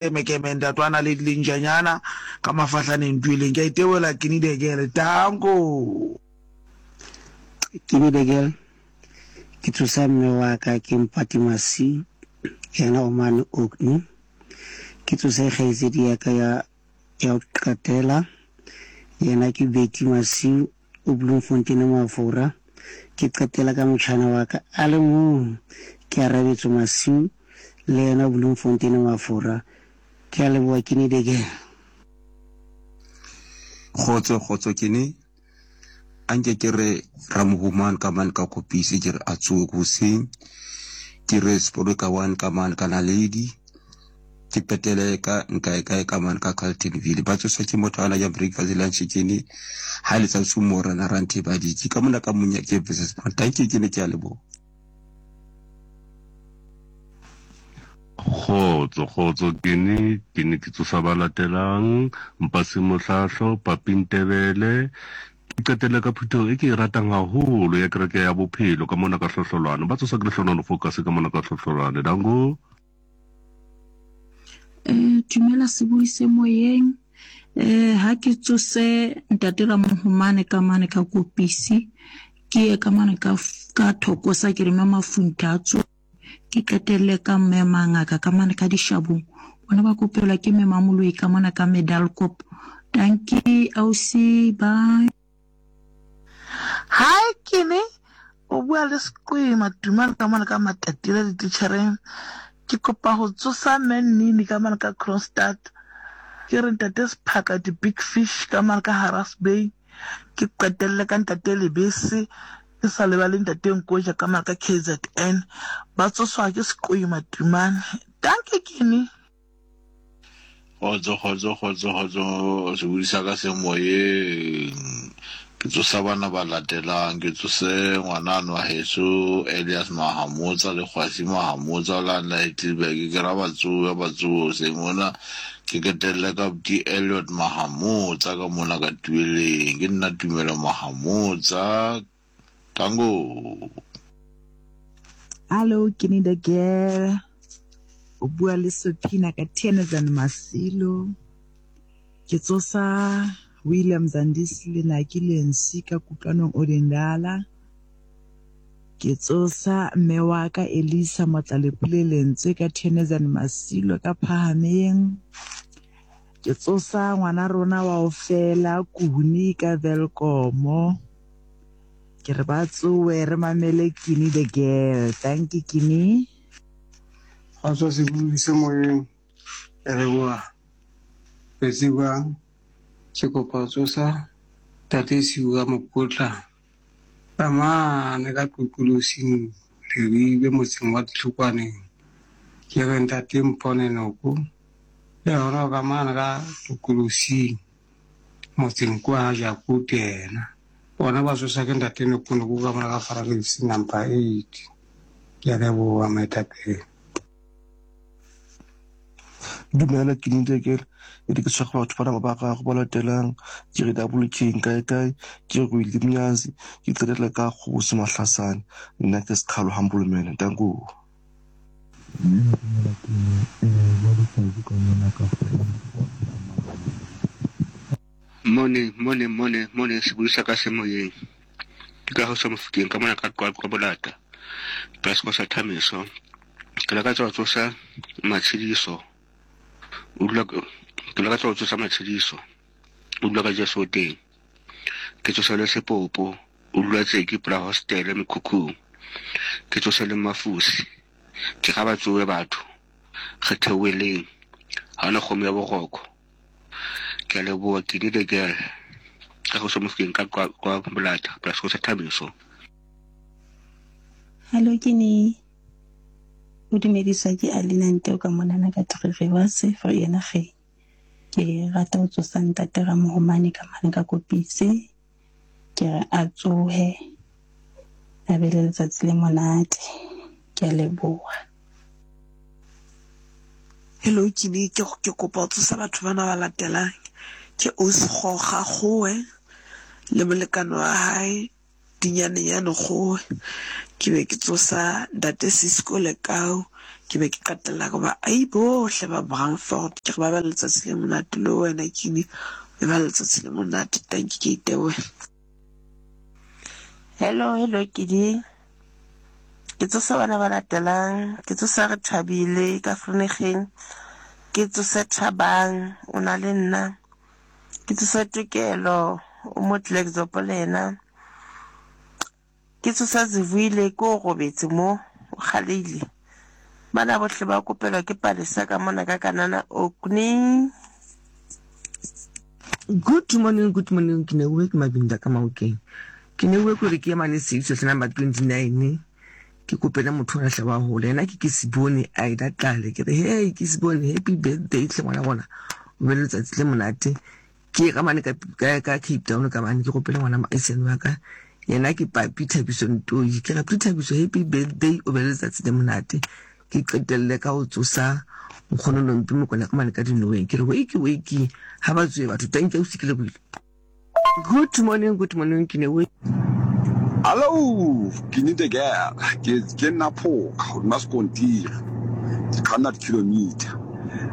Keme ntatwana le lentšanyana ka mafahlaneng tueleng. Ke a itebola Kini the girl. Danko. Kini the girl, Ke tsosa mme wa ka ke Mpati Masiu, yena o mane Orkney. Ke tsose kgaitsedi ya ka ya ya ho qetela, yena ke Betty Masiu o Bloemfontein Mafora. Ke qetela ka motjhana wa ka a le mong, ke Arabetso Masiu, le yena Bloemfontein Mafora. Ke a leboha Kini the girl. Kgotso kgotso Kini, a nke ke re Ramohumane ka mane ka Kopisi ke re a tsohe hoseng, ke re Sepoleka one ka mane ka Naledi, ke qetele ka nkae kae ka mane ka Carltonville. Ba tsoswa ke motho ana ja breakfast lunch Kini, ha le tsa sumora na ranthe ba ditse ka mona ka monyake versus Dankie Kini, ke a leboha. Kgotso, kgotso, ke ne ke ne ke tsosa ba latelang, Mpasi Mohlahlo, Papi Ntebele, ke qetelle ka phutheho e ke e ratang haholo ya Kereke ya Bophelo ka mona ka Hlohlolwane. Ba tsosa ke Lehlonono Focus ka mona ka Hlohlolwane. Dango. Eh, dumela sebui se moyeng. Eh, ha ke tsose ntate Ramohomane ka mane ka Kopisi, ke ye ka mane ka ka Thokosa ke re mme Mafuntha a tsohe, ke qetelle ka mme Mangaka ka mane ka Dishabong. Bona ba kopelwa ke mme Mamoloi ka mona ka Medalkop. Dankie ausi, bye. Hi Kini, o bua le Seqwema Tumane ka mona ka Matatila dititjhereng. Ke kopa ho tsosa Mme Nnini ka mane ka Kroonstad. Ke re Ntate Sephaka di-big fish ka mane ka Haras Bay. Ke qetelle ka Ntate Lebese, ke sa lebale Ntate Nkoja ka mane ka KZN. Ba tsoswa ke Seqwema Tumane. Dankie Kini. Kgotso, kgotso, kgotso, kgotso, sebodi sa ka se moyeng. Ke tsosa bana ba latelang, ke tsose ngwanano wa heso Elias Mahamotsa le Kgwasi Mahamotsa o la nna Heidelberg, ke ra ba tsohe, ba tsohe hoseng mona. Ke ketelle ka buti Elliot Mahamotsa ka mona ka Tueleng. Ke nna Tumelo Mahamotsa. Tango. Hallo, ke ni the girl. O bua le Sophina ka Tienezan Masilo. Ke tsosa William Zandisi le Naki Lensi ka Kutlwanong Odendala. Ke tsosa mme wa ka Elisa Motlalepule Lentswe ka Tienezan Masilo ka Phahameng. Ke tsosa ngwana rona wa ho fela Kuni ka Welkomo. Ke re ba tsowe re mamele Kini the girl. Thank you Kini. Kgotso sebui se moyeng ke leboha le tsebang ke kopa ho tsosa tate Siu ka mokotla ka mane ka Qoqolosing Leribe motseng wa Ditlhokwaneng ke re ntate Mpone Noko le yona ka mane ka Qoqolosing motseng kwa ha Jakote yena. Bona ba tsosa ke ntate Nokonoko ka mona ka Faralesi number 8. Ke a leboha moetapele. Dumela ke nite ke e re ke tshware batho bana ba gago ba latelang ke re double king kae kae ke re Willie Mnyazi ke qetelle ka Kgosi Mahlasane nna ke Sekhalo Humble Man danko. Dumela dumela ke ne eh bua le Thabu ka mona ka Morning, morning, morning, morning, sebui sa ka se moyeng. Ke ka go sa mofokeng ka mona ka Qwaqwa Bolata. Plus go sa Thamiso. Ke lakatsa go tsosa matshediso. O dula ke lakatsa go tsosa matshediso. O dula ka Jesu teng. Ke tsosa le sepopo. O dula tseki pela hostele mekhukhung. Ke tsose le mafusi. Ke ga ba tsowe batho. Re theoweleng. Ha ona kgomo ya boroko. Ke a leboha ke the girl. Ka go mofokeng ka kwa kwa Bolata plus go sa Thabiso. Hallo ke ne o dumediswa ke Alina Nteo ka monana ka Three Rivers for yena ge ke rata ho tsosa ntate Ramohomane ka mane ka Kopitse. Ke re a tsohe a be le letsatsi le monate. Ke a leboha. Hello ke ne ke ke kopa ho tsosa batho bana ba latelang. Ke Ausi Goga Kgowe le molekane wa hae Dinyanenyane Kgowe. Ke be ke tsosa Ntate Sisco Lekau. Ke be ke qetella ka ba ai bohle ba Brandfort ke re ba be le letsatsi le monate le wena Kini e ba letsatsi le monate tanki ke itebohela. Hello, hello Kidi. Ke tsose bana ba latelang, ke tsose re thabile ka Verneging, ke tsose Thabang o na le nna, ke tsose Tokelo o mo Klerksdorp le yena. Ke tsosa Zivuyile ke o robetse mo, o kgaleile. Bana bohle ba kopelwa ke Palesa ka mona ka Kanana Orkney. Good morning, good morning. Ke neuwe ke Mabinda ka Maokeng. Ke neuwe kore ke ye mane Seiso hle number 29. Ke kopele motho ona hle wa hola. Yena ke ke Sibone Aida Tlale. Ke re hey ke Sibone happy birthday hle ngwana rona. O be le letsatsi le monate. Ke ye ka mane ka, ka, ka Cape Town ka mane ke gopele ngwana moahisane wa ka. Yena ke Papi Thabiso Ntoi. Ke re Papi Thabiso happy birthday o be le letsatsi le monate. Ke qetelle ka ho tsosa nkgono Nompi Mokwena ka mane ka Dinoweng. Ke re wakey wakey ha ba tsohe batho. Tanki ausi ke lebohile. Good morning, good morning ke ne we. Hallo, ke need a girl. Ke ke nna phoka hodima sekontiri. Ke kganna di-kilometer.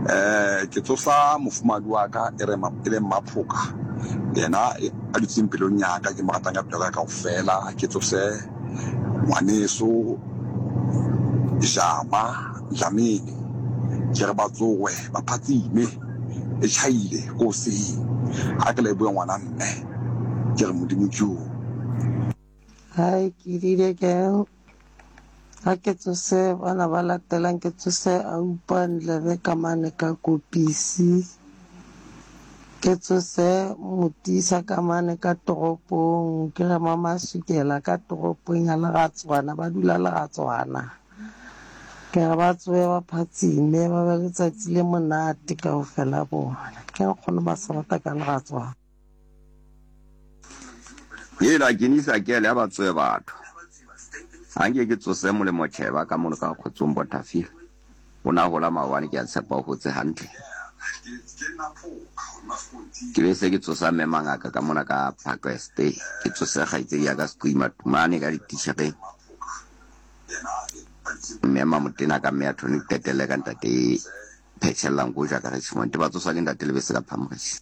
Eh, ke tsosa mofumahadi wa ka e re e leng Maphoka. Yena a dutseng pelong ya ka, ke mo ratang ka pelo ya ka kaofela. Ke tsose ngwaneso Jama Dlamini. Ke re ba tsowe ba phatsime e tjhaile ko hoseng. Ha ke lebohe ngwana mme, ke re Modimo ke oo. Hi, ke dile girl. Ha ke tsose bana ba latelang ke tsose Aupa Ndlebe ka mane ka Kopisi. Ke tsose Motisa ka mane ka toropong, ke re Mama Sukela ka toropong ya Leratswana, ba dula Leratswana. Ke re ba tsohe ba phatsime, ba be letsatsi le monate kaofela bona. Ke nkgono ba se rata ka Leratswana. Hela ke nisa kele ha ba tsohe batho. Ha nke ke tsose Molemo Cheba ka mono ka Kgotsong Botterfield. O na hola maobane ke a tshepa o hotse hantle. Ke be se ke tsosa mme Mangaka ka mona ka Parkweste. Ke tsose kgaitsedi ya ka Seqima Tumane ka dititjhereng. Mme Mamotena ka mme ya Tony qetelle ka ntate Phetshella Nkoja ka Richmond. Ba tsoswa ke ntate Lebese ka Phamorisi.